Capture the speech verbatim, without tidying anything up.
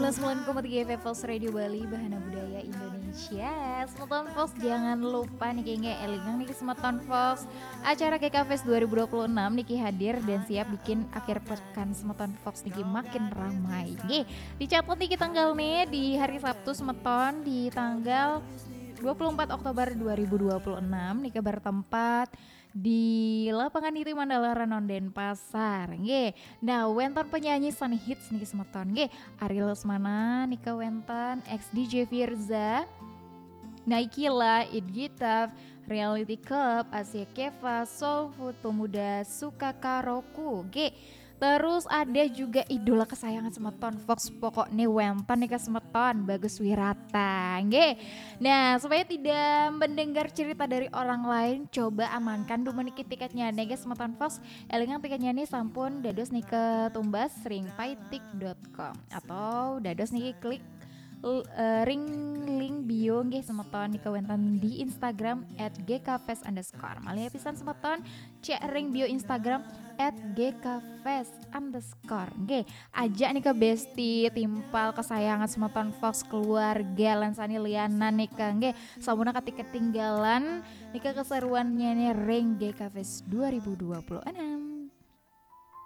Sembilan koma tiga F M Fox Radio Bali, Bahana Budaya Indonesia. Semeton Fox, jangan lupa niki nggih, elingang niki semeton Fox, acara G K Fest dua ribu dua puluh enam niki hadir dan siap bikin akhir pekan semeton Fox niki makin ramai. Nggih, dicatat niki tanggal nih di hari Sabtu semeton di tanggal dua puluh empat Oktober dua ribu dua puluh enam nika bertempat di Lapangan Niti Mandala Renon, Denpasar. Nggih. Nah, wénten penyanyi sané hits niki semeton. Nggih, Ari Lesmana nika wénten, ex D J Firza, Naikila, It Gitaf, Reality Club, Asia Keva, Soul Food, Pemuda Suka Karoku. Nggih. Terus ada juga idola kesayangan semeton Fox, pokoknya wénten nika semeton, Bagus Wirata. Nggih. Nah, supaya tidak mendengar cerita dari orang lain, coba amankan dulu niki tiketnya nggih semeton Fox. Elingang tiketnya nih sampun dados nika tumbas ring paitik dot com atau dados niki klik l- eh, ring link bio nggih semeton nika wénten di Instagram at G K fest underscore. Malih pisan semeton, cek ring bio Instagram at G K fest underscore. Nggih, ajak nika besti timpal kesayangan semeton Fox, keluarga lan sané lianan nika nggih. Sampunang ketinggalan nika keseruannya nih ring G K Fest dua ribu dua puluh enam.